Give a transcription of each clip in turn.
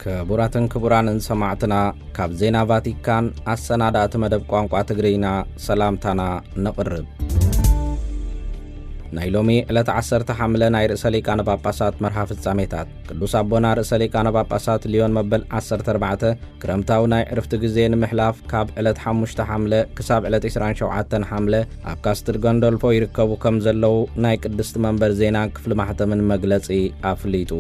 ክቡራትን ክቡራንን ሰማዕትና፣ ካብ ዜና ቫቲካን ኣሰናዳእቲ መደብ ቋንቋ ትግርኛ ሰላምታና ነቕርብ። ናይ ሎሚ ዕለት ዓሰርተ ሓምለ ናይ ርእሰ ሊቃነ ጳጳሳት መርሃ ፍጻሜታት። ቅዱስ ኣቦና ርእሰ ሊቃነ ጳጳሳት ሊዮን መበል ዓሰርተ ኣርባዕተ ክረምታዊ ናይ ዕርፍቲ ግዜ ንምሕላፍ ካብ ዕለት ሓሙሽተ ሓምለ ክሳብ ዕለት ዕስራን ሸውዓተን ሓምለ ኣብ ካስትል ጎንዶልፎ ይርከቡ ከም ዘለዉ ናይ ቅድስቲ መንበር ዜናን ክፍሊ ማሕተምን መግለጺ ኣፍሊጡ።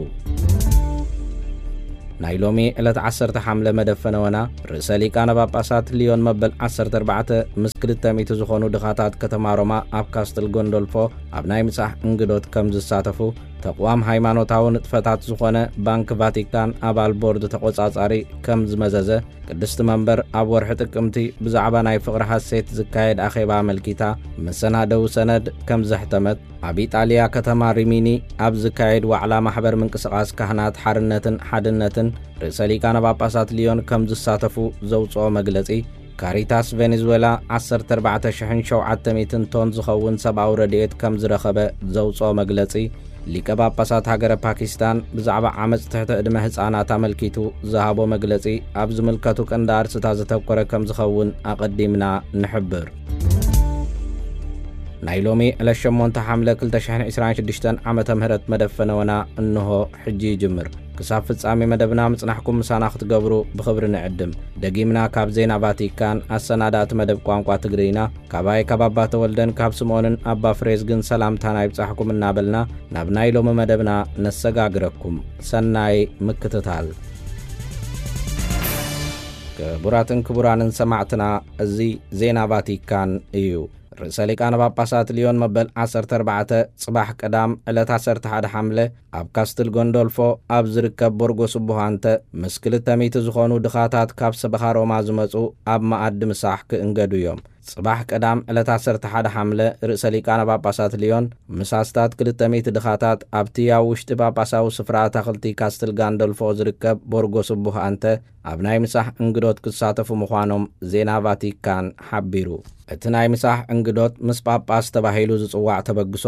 ናይ ሎሚ ዕለት ዓሰርተ ሓምለ መደብ ፈነወና ርእሰ ሊቃነ ጳጳሳት ሊዮን መበል ዓሰርተ ኣርባዕተ ምስ ክልተ ሚእቲ ዝኾኑ ድኻታት ከተማ ሮማ ኣብ ካስትል ጎንዶልፎ ኣብ ናይ ምሳሕ እንግዶት ከም ዝሳተፉ፣ ተቕዋም ሃይማኖታዊ ንጥፈታት ዝኾነ ባንክ ቫቲካን ኣባል ቦርድ ተቖጻጻሪ ከም ዝመዘዘ፣ ቅድስቲ መንበር ኣብ ወርሒ ጥቅምቲ ብዛዕባ ናይ ፍቕሪ ሃሴት ዝካየድ ኣኼባ ኣመልኪታ መሰናደዊ ሰነድ ከም ዘሕተመት፣ ኣብ ኢጣልያ ከተማ ሪሚኒ ኣብ ዝካየድ ዋዕላ ማሕበር ምንቅስቓስ ካህናት ሓርነትን ሓድነትን ርእሰ ሊቃነ ጳጳሳት ሊዮን ከም ዝሳተፉ ዘውፅኦ መግለጺ፣ ካሪታስ ቬኔዙዌላ ዓሰርተ ኣርባዕተ ሽሕን ሸውዓተ ሚእትን ቶን ዝኸውን ሰብኣዊ ረድኤት ከም ዝረኸበ ዘውፅኦ መግለጺ፣ ሊቀ ጳጳሳት ሃገረ ፓኪስታን ብዛዕባ ዓመፅ ትሕቲ ዕድመ ህፃናት ኣመልኪቱ ዝሃቦ መግለጺ ኣብ ዝምልከቱ ቀንዲ ኣርስታት ዘተኮረ ከም ዝኸውን ኣቐዲምና ንሕብር። ናይ ሎሚ ዕለት ሸሞንተ ሓምለ ክልተ ሽሕን ዕስራን ሽዱሽተን ዓመተ ምህረት መደብ ፈነወና እንሆ ሕጂ ይጅምር። ክሳብ ፍጻሜ መደብና ምጽናሕኩም ምሳና ክትገብሩ ብኽብሪ ንዕድም። ደጊምና ካብ ዜና ቫቲካን ኣሰናዳእቲ መደብ ቋንቋ ትግርኛ፣ ካባይ ካብ ኣባ ተወልደን ካብ ስምኦንን ኣባ ፍሬዝግን ሰላምታና ይብጻሕኩም እናበልና ናብ ናይ ሎሚ መደብና ነሰጋግረኩም። ሰናይ ምክትታል። ክቡራትን ክቡራንን ሰማዕትና፣ እዚ ዜና ቫቲካን እዩ። ርእሰ ሊቃነ ጳጳሳት ሊዮን መበል ዓሰርተ ኣርባዕተ ጽባሕ ቀዳም ዕለት ዓሰርተ ሓደ ሓምለ ኣብ ካስትል ጎንዶልፎ ኣብ ዝርከብ ቦርጎ ስቡህ ኣንተ ምስ ክልተ ሚእቲ ዝኾኑ ድኻታት ካብ ሰበኻ ሮማ ዝመጹ ኣብ መኣዲ ምሳሕ ክእንገዱ እዮም። ጽባሕ ቀዳም ዕለት ዓሰርተ ሓደ ሓምለ ርእሰ ሊቃነ ጳጳሳት ሊዮን ምስ ኣስታት ክልተ ሚእቲ ድኻታት ኣብቲ ኣብ ውሽጢ ጳጳሳዊ ስፍራ ኣታኽልቲ ካስትል ጋንዶልፎ ዝርከብ ቦርጎ ስቡህ ኣንተ ኣብ ናይ ምሳሕ እንግዶት ክሳተፉ ምዃኖም ዜና ቫቲካን ሓቢሩ። እቲ ናይ ምሳሕ እንግዶት ምስ ጳጳስ ተባሂሉ ዝጽዋዕ ተበግሶ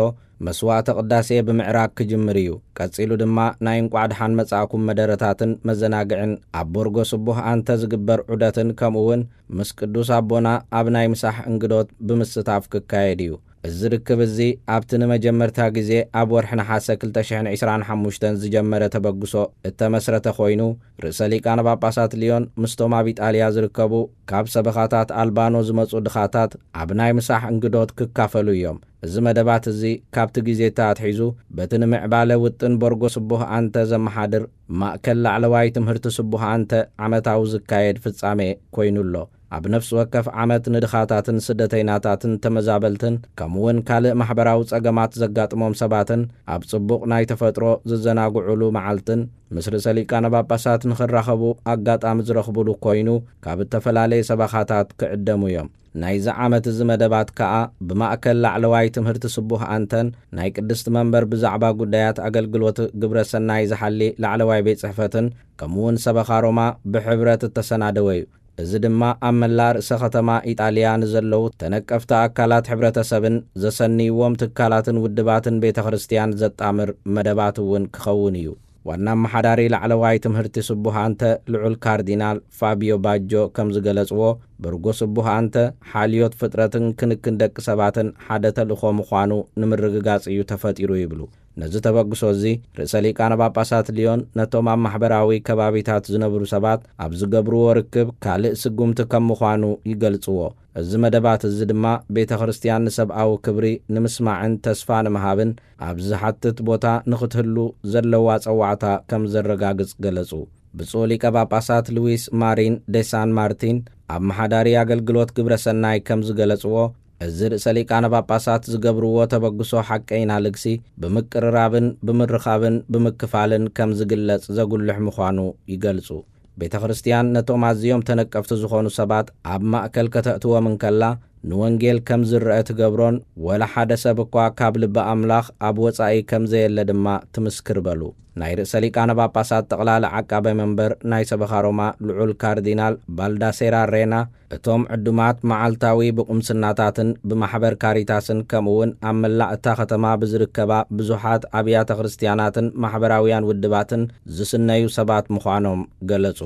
መስዋዕተ ቅዳሴ ብምዕራግ ክጅምር እዩ። ቀጺሉ ድማ ናይ እንቋዕ ደሓን መጻእኩም መደረታትን መዘናግዕን ኣብ ቦርጎ ስቡህ ኣንተ ዝግበር ዑደትን ከምኡ እውን ምስ ቅዱስ ኣቦና ኣብ ናይ ምሳሕ እንግዶት ብምስታፍ ክካየድ እዩ። እዚ ርክብ እዚ ኣብቲ ንመጀመርታ ግዜ ኣብ ወርሒ ነሓሰ ክልተ ሽሕን ዕስራን ሓሙሽተን ዝጀመረ ተበግሶ እተመስረተ ኮይኑ፣ ርእሰ ሊቃነ ጳጳሳት ሊዮን ምስቶም ኣብ ኢጣልያ ዝርከቡ ካብ ሰበኻታት ኣልባኖ ዝመጹ ድኻታት ኣብ ናይ ምሳሕ እንግዶት ክካፈሉ እዮም። እዚ መደባት እዚ ካብቲ ግዜ ኣትሒዙ በቲ ንምዕባለ ውጥን ቦርጎ ስቡህ ኣንተ ዘመሓድር ማእከል ላዕለዋይ ትምህርቲ ስቡህ ኣንተ ዓመታዊ ዝካየድ ፍጻሜ ኮይኑ ኣሎ። ኣብ ነፍሲ ወከፍ ዓመት ንድኻታትን ስደተይናታትን ተመዛበልትን ከምኡውን ካልእ ማሕበራዊ ጸገማት ዘጋጥሞም ሰባትን ኣብ ጽቡቕ ናይ ተፈጥሮ ዝዘናግዑሉ መዓልትን ምስ ርእሰ ሊቃነ ጳጳሳት ንኽራኸቡ ኣጋጣሚ ዝረኽቡሉ ኮይኑ ካብ እተፈላለየ ሰበኻታት ክዕደሙ እዮም። ናይዚ ዓመት እዚ መደባት ከኣ ብማእከል ላዕለዋይ ትምህርቲ ስቡህ ኣንተን ናይ ቅድስቲ መንበር ብዛዕባ ጉዳያት ኣገልግሎት ግብረ ሰናይ ዝሓሊ ላዕለዋይ ቤት ጽሕፈትን ከምኡውን ሰበኻ ሮማ ብሕብረት እተሰናደወ እዩ። እዚ ድማ ኣብ መላእ ርእሰ ከተማ ኢጣልያ ንዘለዉ ተነቀፍቲ ኣካላት ሕብረተሰብን ዘሰንይዎም ትካላትን ውድባትን ቤተ ክርስቲያን ዘጣምር መደባት እውን ክኸውን እዩ። ዋና ኣመሓዳሪ ላዕለዋይ ትምህርቲ ስቡህ ኣንተ ልዑል ካርዲናል ፋቢዮ ባጆ ከም ዝገለጽዎ፣ ብርጎ ስቡህ ኣንተ ሓልዮት ፍጥረትን ክንክን ደቂ ሰባትን ሓደ ተልእኾ ምዃኑ ንምርግጋጽ እዩ ተፈጢሩ ይብሉ። ነዚ ተበግሶ እዚ ርእሰ ሊቃነ ጳጳሳት ሊዮን ነቶም ኣብ ማሕበራዊ ከባቢታት ዝነብሩ ሰባት ኣብ ዝገብርዎ ርክብ ካልእ ስጉምቲ ከም ምዃኑ ይገልጽዎ። እዚ መደባት እዚ ድማ ቤተ ክርስቲያን ንሰብኣዊ ክብሪ ንምስማዕን ተስፋ ንምሃብን ኣብ ዝሓትት ቦታ ንኽትህሉ ዘለዋ ጸዋዕታ ከም ዘረጋግጽ ገለጹ። ብፁዕ ሊቀ ጳጳሳት ሉዊስ ማሪን ዴ ሳን ማርቲን ኣመሓዳሪ ኣገልግሎት ግብረ ሰናይ ከም ዝገለጽዎ፣ እዚ ርእሰ ሊቃነ ጳጳሳት ዝገብርዎ ተበግሶ ሓቀይና ልግሲ ብምቅርራብን ብምርኻብን ብምክፋልን ከም ዝግለጽ ዘጉልሕ ምዃኑ ይገልጹ። ቤተ ክርስቲያን ነቶም ኣዝዮም ተነቀፍቲ ዝኾኑ ሰባት ኣብ ማእከል ከተእትዎም እንከላ፣ ንወንጌል ከም ዝረአ ትገብሮን፣ ወላ ሓደ ሰብ እኳ ካብ ልቢ ኣምላኽ ኣብ ወጻኢ ከም ዘየለ ድማ ትምስክር በሉ። ናይ ርእሰ ሊቃነ ጳጳሳት ጠቕላሊ ዓቃቤ መንበር ናይ ሰበኻ ሮማ ልዑል ካርዲናል ባልዳሴራ ሬና፣ እቶም ዕዱማት መዓልታዊ ብቁምስናታትን ብማሕበር ካሪታስን ከምኡውን ኣብ መላእ እታ ከተማ ብዝርከባ ብዙሓት ኣብያተ ክርስትያናትን ማሕበራውያን ውድባትን ዝስነዩ ሰባት ምዃኖም ገለጹ።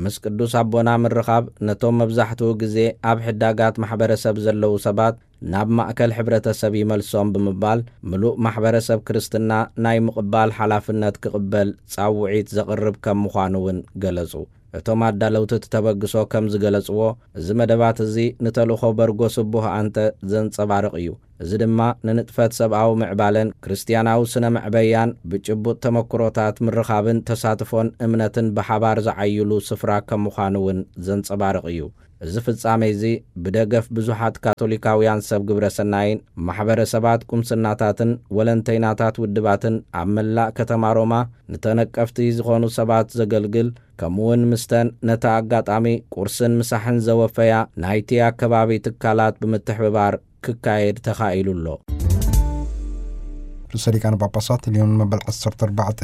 ምስ ቅዱስ ኣቦና ምርኻብ ነቶም መብዛሕትኡ ግዜ ኣብ ሕዳጋት ማሕበረሰብ ዘለዉ ሰባት ናብ ማእከል ሕብረተሰብ ይመልሶም ብምባል፣ ምሉእ ማሕበረሰብ ክርስትና ናይ ምቕባል ሓላፍነት ክቕበል ጻውዒት ዘቕርብ ከም ምዃኑ እውን ገለጹ። እቶም ኣዳለውቲ እቲ ተበግሶ ከም ዝገለጽዎ፣ እዚ መደባት እዚ ንተልእኾ በርጎ ስቡህ ኣንተ ዘንጸባርቕ እዩ። እዚ ድማ ንንጥፈት ሰብኣዊ ምዕባለን ክርስትያናዊ ስነ መዕበያን ብጭቡጥ ተመክሮታት ምርኻብን ተሳትፎን እምነትን ብሓባር ዝዓይሉ ስፍራ ከም ምዃኑ እውን ዘንጸባርቕ እዩ። እዚ ፍጻሜ እዚ ብደገፍ ብዙሓት ካቶሊካውያን ሰብ ግብረ ሰናይን ማሕበረሰባት ቁምስናታትን ወለንተይናታት ውድባትን ኣብ መላእ ከተማ ሮማ ንተነቀፍቲ ዝኾኑ ሰባት ዘገልግል፣ ከምኡውን ምስተን ነታ ኣጋጣሚ ቁርስን ምሳሕን ዘወፈያ ናይቲ ኣከባቢ ትካላት ብምትሕብባር ክካየድ ተኻኢሉ ኣሎ። ርእሰ ሊቃነ ጳጳሳት ልዮን መበል ዓሰርተ ኣርባዕተ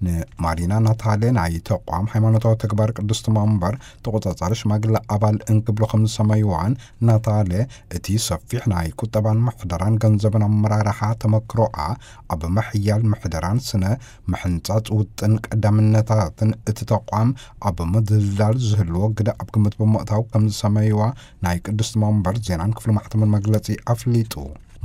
ንማሪና ናታሌ ናይ ተቋም ሃይማኖታዊ ተግባር ቅድስቲ መንበር ተቖጻጻሪ ሽማግለ ኣባል እንክብሎ ከም ዝሰመይዋን፣ ናታሌ እቲ ሰፊሕ ናይ ቁጠባን ምሕደራን ገንዘብን ኣመራርሓ ተመክሮኣ ኣብ ምሕያል ምሕደራን ስነ ምሕንጻጽ ውጥን ቀዳምነታትን እቲ ተቋም ኣብ ምድልዳል ዝህልዎ ግደ ኣብ ግምት ብምእታው ከም ዝሰመይዋ ናይ ቅድስቲ መንበር ዜናን ክፍሊ ማሕተምን መግለጺ ኣፍሊጡ።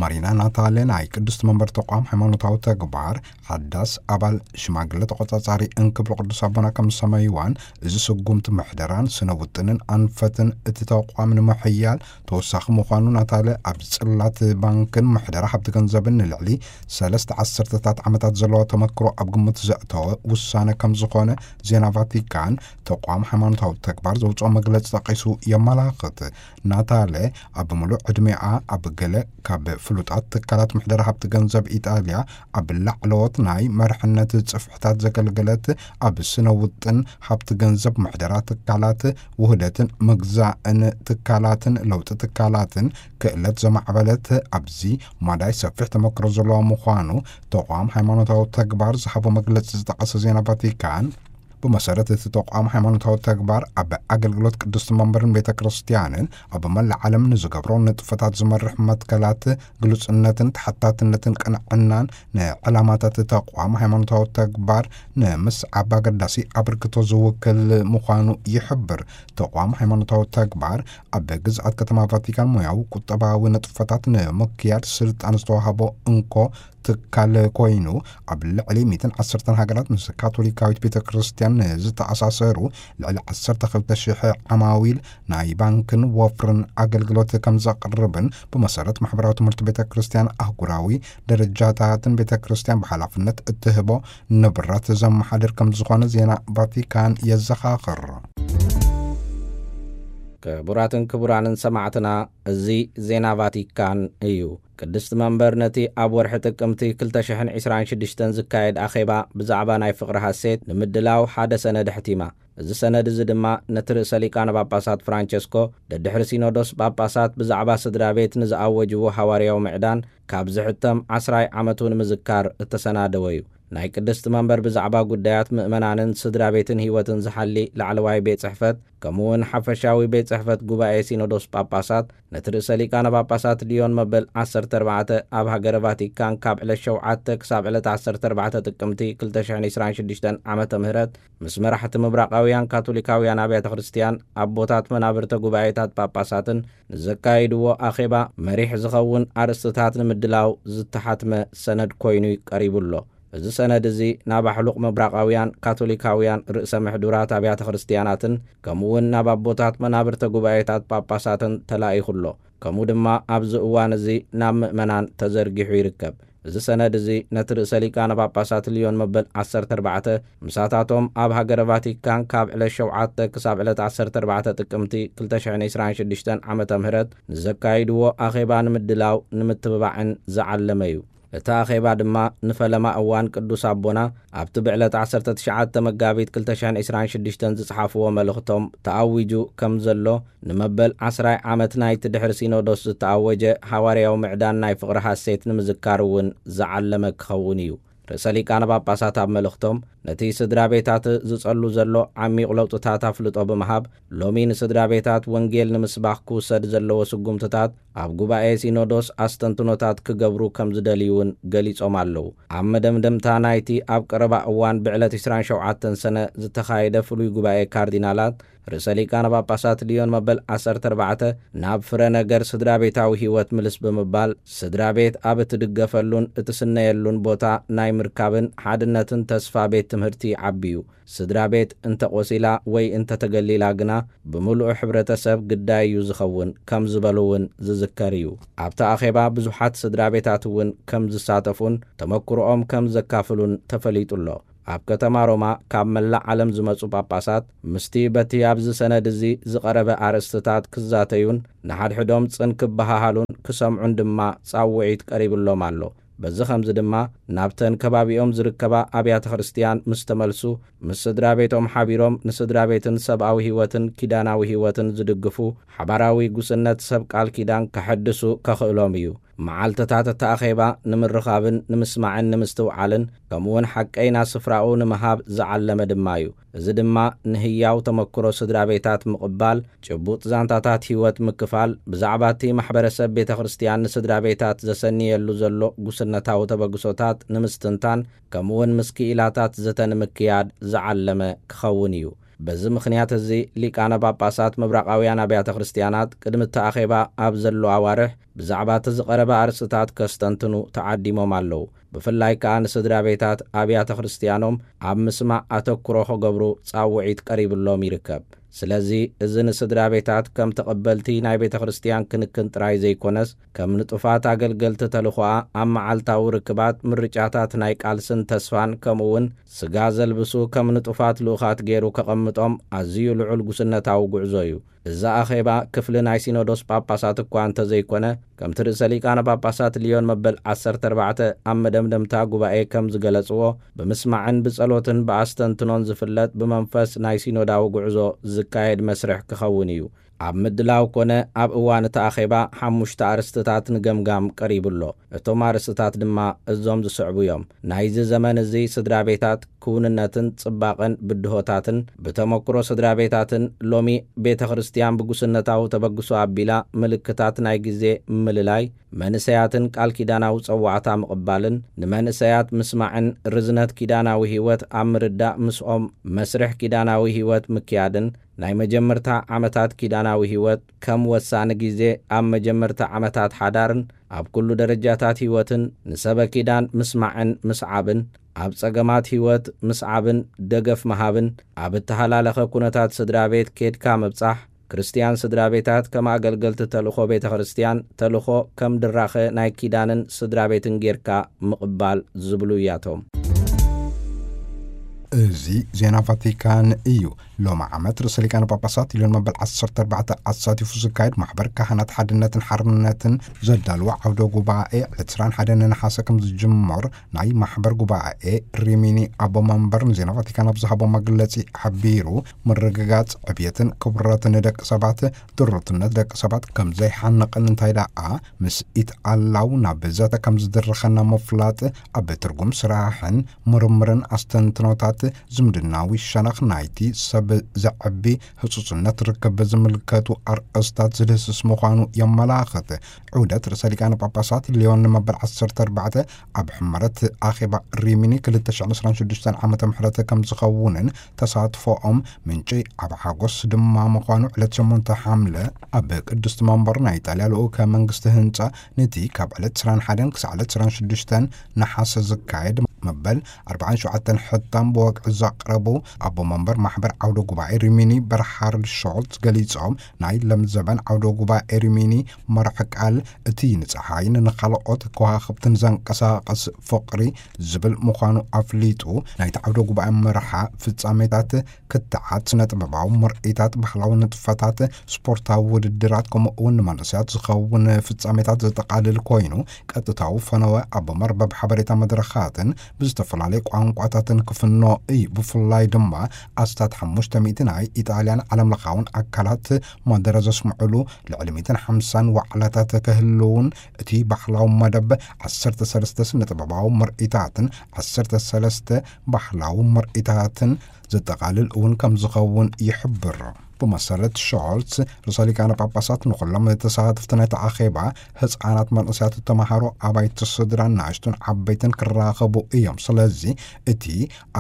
ማሪና ናታሌ ናይ ቅድስቲ መንበር ተቋም ሃይማኖታዊ ተግባር ሓዳስ ኣባል ሽማግለ ተቖጻጻሪ እንክብሎ ቅዱስ ኣቦና ከም ዝሰመይዋን፣ እዚ ስጉምቲ ምሕደራን ስነ ውጥንን ኣንፈትን እቲ ተቋም ንምሕያል ተወሳኺ ምዃኑ ናታለ ኣብ ጽላት ባንክን ምሕደራ ሃብቲ ገንዘብን ንልዕሊ ሰለስተ ዓሰርተታት ዓመታት ዘለዎ ተመክሮ ኣብ ግምት ዘእተወ ውሳነ ከም ዝኾነ ዜና ቫቲካን ተቋም ሃይማኖታዊ ተግባር ዘውፅኦ መግለፂ ጠቂሱ የመላኽት። ናታለ ኣብ ምሉእ ዕድሜኣ ኣብ ገለ ካብ ፍሉጣት ትካላት ምሕደራ ሃብቲ ገንዘብ ኢጣልያ ኣብ ላዕለዎት ናይ መርሕነት ጽፍሕታት ዘገልገለት፣ ኣብ ስነ ውጥን ሃብቲ ገንዘብ ምሕደራ ትካላት፣ ውህደትን ምግዛእን ትካላትን ለውጢ ትካላትን ክእለት ዘማዕበለት ኣብዚ ማዳይ ሰፊሕ ተመክሮ ዘለዋ ምዃኑ ተቋም ሃይማኖታዊ ተግባር ዝሃቦ መግለጺ ዝጠቐሰ ዜና ቫቲካን፣ ብመሰረት እቲ ተቋም ሃይማኖታዊ ተግባር ኣብ ኣገልግሎት ቅድስቲ መንበርን ቤተ ክርስቲያንን ኣብ መላእ ዓለም ንዝገብሮ ንጥፈታት ዝመርሕ መትከላት ግሉጽነትን ተሓታትነትን ቅንዕናን ንዕላማታት ተቋም ሃይማኖታዊ ተግባር ንምስዓብ ኣገዳሲ ኣበርክቶ ዝውክል ምዃኑ ይሕብር። ተቋም ሃይማኖታዊ ተግባር ኣብ ግዝኣት ከተማ ቫቲካን ሞያዊ ቁጠባዊ ንጥፈታት ንምክያድ ስልጣን ዝተዋህቦ እንኮ ትካል ኮይኑ፣ ኣብ ልዕሊ ሚእትን ዓሰርተን ሃገራት ምስ ካቶሊካዊት ቤተ ክርስቲያን ንዝተኣሳሰሩ ልዕሊ ዓሰርተ ክልተ ሽሕ ዓማዊል ናይ ባንክን ወፍርን ኣገልግሎት ከም ዘቕርብን፣ ብመሰረት ማሕበራዊ ትምህርቲ ቤተ ክርስቲያን ኣህጉራዊ ደረጃታትን ቤተ ክርስቲያን ብሓላፍነት እትህቦ ንብረት ዘመሓድር ከም ዝኾነ ዜና ቫቲካን የዘኻኽር። ክቡራትን ክቡራንን ሰማዕትና፣ እዚ ዜና ቫቲካን እዩ። ቅድስቲ መንበር ነቲ ኣብ ወርሒ ጥቅምቲ ክልተ ሽሕን ዕስራን ሽዱሽተን ዝካየድ ኣኼባ ብዛዕባ ናይ ፍቕሪ ሃሴት ንምድላው ሓደ ሰነድ ኣሕቲማ። እዚ ሰነድ እዚ ድማ ነቲ ርእሰ ሊቃነ ጳጳሳት ፍራንቸስኮ ደድሕሪ ሲኖዶስ ጳጳሳት ብዛዕባ ስድራ ቤት ንዝኣወጅዎ ሃዋርያዊ ምዕዳን ካብ ዝሕተም ዓስራይ ዓመቱ ንምዝካር እተሰናደወ እዩ። ናይ ቅድስቲ መንበር ብዛዕባ ጉዳያት ምእመናንን ስድራ ቤትን ህይወትን ዝሓሊ ላዕለዋይ ቤት ጽሕፈት፣ ከምኡ እውን ሓፈሻዊ ቤት ጽሕፈት ጉባኤ ሲኖዶስ ጳጳሳት፣ ነቲ ርእሰ ሊቃነ ጳጳሳት ልዮን መበል ዓሰርተ ኣርባዕተ ኣብ ሃገረ ቫቲካን ካብ ዕለት ሸውዓተ ክሳብ ዕለት ዓሰርተ ኣርባዕተ ጥቅምቲ ክልተ ሽሕን ዕስራን ሽዱሽተን ዓመተ ምህረት ምስ መራሕቲ ምብራቓውያን ካቶሊካውያን ኣብያተ ክርስቲያን፣ ኣቦታት መናብርተ ጉባኤታት ጳጳሳትን ንዘካይድዎ ኣኼባ መሪሕ ዝኸውን ኣርእስትታት ንምድላው ዝተሓትመ ሰነድ ኮይኑ ቀሪቡ ኣሎ። እዚ ሰነድ እዚ ናብ ኣሕሉቕ ምብራቓውያን ካቶሊካውያን ርእሰ ምሕዱራት ኣብያተ ክርስቲያናትን ከምኡ እውን ናብ ኣቦታት መናብርተ ጉባኤታት ጳጳሳትን ተላኢኹ ኣሎ። ከምኡ ድማ ኣብዚ እዋን እዚ ናብ ምእመናን ተዘርጊሑ ይርከብ። እዚ ሰነድ እዚ ነቲ ርእሰ ሊቃነ ጳጳሳት ልዮን መበል ዓሰርተ ኣርባዕተ ምሳታቶም ኣብ ሃገረ ቫቲካን ካብ ዕለት ሸውዓተ ክሳብ ዕለት ዓሰርተ ኣርባዕተ ጥቅምቲ ክልተ ሽሕን ዕስራን ሽዱሽተን ዓመተ ምህረት ንዘካይድዎ ኣኼባ ንምድላው ንምትብባዕን ዝዓለመ እዩ። እቲ ኣኼባ ድማ ንፈለማ እዋን ቅዱስ ኣቦና ኣብቲ ብዕለት ዓሰርተ ትሽዓተ መጋቢት ክልተ ሽሕን ዕስራን ሽዱሽተን ዝጸሓፍዎ መልእኽቶም ተኣዊጁ ከም ዘሎ፣ ንመበል ዓስራይ ዓመት ናይቲ ድሕሪ ሲኖዶስ ዝተኣወጀ ሃዋርያዊ ምዕዳን ናይ ፍቕሪ ሐሴት ንምዝካር እውን ዝዓለመ ክኸውን እዩ። ርእሰ ሊቃነ ጳጳሳት ኣብ መልእኽቶም፣ ነቲ ስድራ ቤታት ዝጸሉ ዘሎ ዓሚቕ ለውጥታት ኣፍልጦ ብምሃብ፣ ሎሚ ንስድራ ቤታት ወንጌል ንምስባኽ ክውሰድ ዘለዎ ስጉምትታት ኣብ ጉባኤ ሲኖዶስ ኣስተንትኖታት ክገብሩ ከም ዝደልዩ እውን ገሊጾም ኣለዉ። ኣብ መደምደምታ ናይቲ ኣብ ቀረባ እዋን ብዕለት ዕስራን ሸውዓተን ሰነ ዝተኻየደ ፍሉይ ጉባኤ ካርዲናላት፣ ርእሰ ሊቃነ ጳጳሳት ልዮን መበል ዓሰርተ ኣርባዕተ ናብ ፍረ ነገር ስድራ ቤታዊ ህይወት ምልስ ብምባል፣ ስድራ ቤት ኣብ እትድገፈሉን እትስነየሉን ቦታ ናይ ምርካብን ሓድነትን ተስፋ ቤት ትምህርቲ ይዓቢ እዩ። ስድራ ቤት እንተ ቆሲላ ወይ እንተ ተገሊላ ግና፣ ብምሉእ ሕብረተሰብ ግዳይ እዩ ዝኸውን ከም ዝበሉ እውን ዝዝከር እዩ። ኣብቲ ኣኼባ ብዙሓት ስድራ ቤታት እውን ከም ዝሳተፉን ተመክሮኦም ከም ዘካፍሉን ተፈሊጡ ኣሎ። ኣብ ከተማ ሮማ ካብ መላእ ዓለም ዝመጹ ጳጳሳት ምስቲ በቲ ኣብዚ ሰነድ እዚ ዝቐረበ ኣርእስትታት ክዛተዩን ንሓድሕዶም ጽን ክበሃሃሉን ክሰምዑን ድማ ጻውዒት ቀሪብሎም ኣሎ። በዚ ኸምዚ ድማ ናብተን ከባቢኦም ዝርከባ ኣብያተ ክርስቲያን ምስ ተመልሱ፣ ምስ ስድራ ቤቶም ሓቢሮም ንስድራ ቤትን ሰብኣዊ ህይወትን ኪዳናዊ ህይወትን ዝድግፉ ሓባራዊ ጉስነት ሰብ ቃል ኪዳን ከሐድሱ ከኽእሎም እዩ። መዓልትታት እቲ ኣኼባ ንምርኻብን ንምስማዕን ንምስትውዓልን፣ ከምኡውን ሓቀይና ስፍራኡ ንምሃብ ዝዓለመ ድማ እዩ። እዚ ድማ ንህያው ተመክሮ ስድራ ቤታት ምቕባል፣ ጭቡጥ ዛንታታት ህይወት ምክፋል፣ ብዛዕባ እቲ ማሕበረሰብ ቤተ ክርስቲያን ንስድራ ቤታት ዘሰንየሉ ዘሎ ጉስነታዊ ተበግሶታት ንምስትንታን፣ ከምኡውን ምስ ክኢላታት ዘተ ንምክያድ ዝዓለመ ክኸውን እዩ። በዚ ምኽንያት እዚ ሊቃነ ጳጳሳት ምብራቓውያን ኣብያተ ክርስቲያናት ቅድሚ እቲ ኣኼባ ኣብ ዘሎ ኣዋርሕ ብዛዕባ እቲ ዝቐረበ ኣርእስትታት ከስተንትኑ ተዓዲሞም ኣለዉ። ብፍላይ ከኣ ንስድራ ቤታት ኣብያተ ክርስቲያኖም ኣብ ምስማዕ ኣተኩሮ ክገብሩ ጻውዒት ቀሪብሎም ይርከብ። ስለዚ እዚ ንስድራ ቤታት ከም ተቐበልቲ ናይ ቤተ ክርስቲያን ክንክን ጥራይ ዘይኮነስ፣ ከም ንጡፋት ኣገልገልቲ ተልኾኣ ኣብ መዓልታዊ ርክባት፣ ምርጫታት ናይ ቃልስን ተስፋን፣ ከምኡ እውን ስጋ ዘልብሱ ከም ንጡፋት ልኡኻት ገይሩ ከቐምጦም ኣዝዩ ልዑል ጉስነታዊ ጉዕዞ እዩ። እዚ ኣኼባ ክፍሊ ናይ ሲኖዶስ ጳጳሳት እኳ እንተዘይኮነ፣ ከምቲ ርእሰ ሊቃነ ጳጳሳት ልዮን መበል ዓሰርተ ኣርባዕተ ኣብ መደምደምታ ጉባኤ ከም ዝገለጽዎ፣ ብምስማዕን ብጸሎትን ብኣስተንትኖን ዝፍለጥ ብመንፈስ ናይ ሲኖዳዊ ጉዕዞ ዝካየድ መስርሕ ክኸውን እዩ። ኣብ ምድላው ኮነ ኣብ እዋን እቲ ኣኼባ ሓሙሽተ ኣርእስትታት ንገምጋም ቀሪቡ ኣሎ። እቶም ኣርእስትታት ድማ እዞም ዝስዕቡ እዮም። ናይዚ ዘመን እዚ ስድራ ቤታት ክውንነትን ጽባቐን ብድሆታትን፣ ብተመክሮ ስድራ ቤታትን ሎሚ ቤተ ክርስቲያን ብጉስነታዊ ተበግሶ ኣቢላ ምልክታት ናይ ግዜ ምልላይ፣ መንእሰያትን ቃል ኪዳናዊ ጸዋዕታ ምቕባልን፣ ንመንእሰያት ምስማዕን ርዝነት ኪዳናዊ ህይወት ኣብ ምርዳእ ምስኦም መስርሕ ኪዳናዊ ህይወት ምክያድን፣ ናይ መጀመርታ ዓመታት ኪዳናዊ ህይወት ከም ወሳኒ ግዜ ኣብ መጀመርታ ዓመታት ሓዳርን ኣብ ኩሉ ደረጃታት ህይወትን ንሰበ ኪዳን ምስማዕን ምስዓብን፣ ኣብ ጸገማት ህይወት ምስዓብን ደገፍ ምሃብን፣ ኣብ እተሃላለኸ ኩነታት ስድራ ቤት ኬድካ ምብጻሕ፣ ክርስትያን ስድራ ቤታት ከም ኣገልገልቲ ተልእኾ ቤተ ክርስትያን፣ ተልእኾ ከም ድራኸ ናይ ኪዳንን ስድራ ቤትን ጌርካ ምቕባል ዝብሉ እያቶም። እዚ ዜና ቫቲካን እዩ። ሎሚ ዓመት ርእሰ ሊቃነ ጳጳሳት ልዮን መበል ዓሰርተ ኣርባዕተ ኣሳቲፉ ዝካየድ ማሕበር ካህናት ሓድነትን ሓርነትን ዘዳልዎ ዓውደ ጉባኤ ዕለት ዕስራን ሓደን ነሓሰ ከም ዝጅመር ናይ ማሕበር ጉባኤ ሪሚኒ ኣቦ መንበር ንዜና ቫቲካን ኣብ ዝሃቦ መግለጺ ሓቢሩ፣ ምርግጋጽ ዕብየትን ክብረትን ደቂ ሰባት፣ ድሩትነት ደቂ ሰባት ከም ዘይሓንቕን እንታይ ደኣ ምስ ኢትኣላው ናብ ዘተ ከም ዝድርኸና ምፍላጥ፣ ኣብ ትርጉም ስራሕን ምርምርን ኣስተንትኖታት ዝምድናዊ ሸነኽ ናይቲ ሰብ ዘዕቢ ህጹጽነት ርክብ ዝምልከቱ ኣርእስታት ዝድህስስ ምዃኑ የመላኽት። ዑደት ርእሰ ሊቃነ ጳጳሳት ልዮን ንመበል ዓሰርተ ኣርባዕተ ኣብ ሕመረት ኣኼባ ሪሚኒ ክልተ ሽሕን ዕስራን ሽዱሽተን ዓመተ ምሕረት ከም ዝኸውንን ተሳትፎኦም ምንጪ ዓቢ ሓጎስ ድማ ምዃኑ ዕለት ሸሞንተ ሓምለ ኣብ ቅድስቲ መንበር ናይ ኢጣልያ ልኡከ መንግስቲ ህንጻ ነቲ ካብ ዕለት ዕስራን ሓደን ክሳዕ ዕለት ዕስራን ሽዱሽተን ነሓሰ ዝካየድ መበል ኣርባዓን ሸውዓተን ሕታም ክዕዞ ኣቕረቡ። ኣቦ መንበር ማሕበር ዓውደ ጉባኤ ሪሚኒ በርሃርድ ሾልት ገሊጾም፣ ናይ ለምዘበን ዓውደ ጉባኤ ሪሚኒ መርሒ ቃል እቲ ንጸሓይን ንኻልኦት ከዋኽብትን ዘንቀሳቐስ ፍቕሪ ዝብል ምዃኑ ኣፍሊጡ። ናይቲ ዓውደ ጉባኤ መርሓ ፍጻሜታት ክትዓት ስነ ጥበባዊ ምርኢታት፣ ባህላዊ ንጥፈታት፣ ስፖርታዊ ውድድራት፣ ከምኡ እውን ንመንእሰያት ዝኸውን ፍጻሜታት ዘጠቓልል ኮይኑ፣ ቀጥታዊ ፈነወ ኣብ መርበብ ሓበሬታ መድረኻትን ብዝተፈላለዩ ቋንቋታትን ክፍኖ እዩ። ብፍላይ ድማ ኣስታት ሓሙሽተ ሚእቲ ናይ ኢጣልያን ዓለምለኻውን ኣካላት መደረ ዘስምዑሉ ልዕሊ ሚእትን ሓምሳን ዋዕላታት ክህልውን፣ እቲ ባህላዊ መደብ ዓሰርተ ሰለስተ ስነ ጥበባዊ ምርኢታትን ዓሰርተ ሰለስተ ባህላዊ ምርኢታትን ዘጠቓልል እውን ከም ዝኸውን ይሕብር። ብመሰረት ሾልትስ፣ ርእሰ ሊቃነ ጳጳሳት ንኹሎም ተሳተፍቲ ናይቲ ኣኼባ፣ ህፃናት፣ መንእሰያት፣ ተምሃሮ፣ ኣባይቲ ስድራን ንኣሽቱን ዓበይትን ክራኸቡ እዮም። ስለዚ እቲ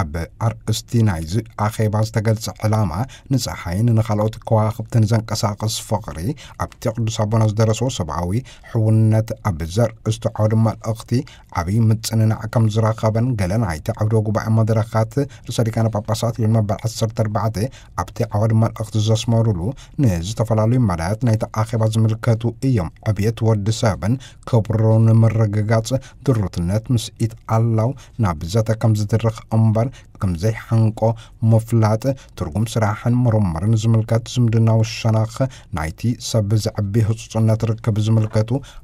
ኣብ ኣርእስቲ ናይዚ ኣኼባ ዝተገልጸ ዕላማ ንፀሓይን ንኻልኦት ከዋኽብትን ዘንቀሳቐስ ፍቕሪ፣ ኣብቲ ቅዱስ ኣቦና ዝደረስዎ ሰብኣዊ ሕውነት ኣብ ዘርእስቱ ዓውዲ መልእኽቲ ዓብዪ ምጽንናዕ ከም ዝረኸበን፣ ገለ ናይቲ ዓውደ ጉባኤ መድረኻት ርእሰ ሊቃነ ጳጳሳት ሊዮን መበል ዓሰርተ ኣርባዕተ ኣብቲ ዓውዲ መልእኽቲ ዘስመሩሉ፣ ንዝተፈላለዩ መዳያት ናይቲ ኣኼባ ዝምልከቱ እዮም። ዕብየት ወዲ ሰብን ክብሩ ንምርግጋጽ ድሩትነት ምስኢት ኣላው ናብ ዘተ ከም ዝድርኽ እምበር ከም ዘይሓንቆ ምፍላጥ፣ ትርጉም ስራሕን ምርምርን ዝምልከት ዝምድናዊ ሸነኽ ናይቲ ሰብ ዘዕቢ ህጹጽነት ርክብ ዝምልከቱ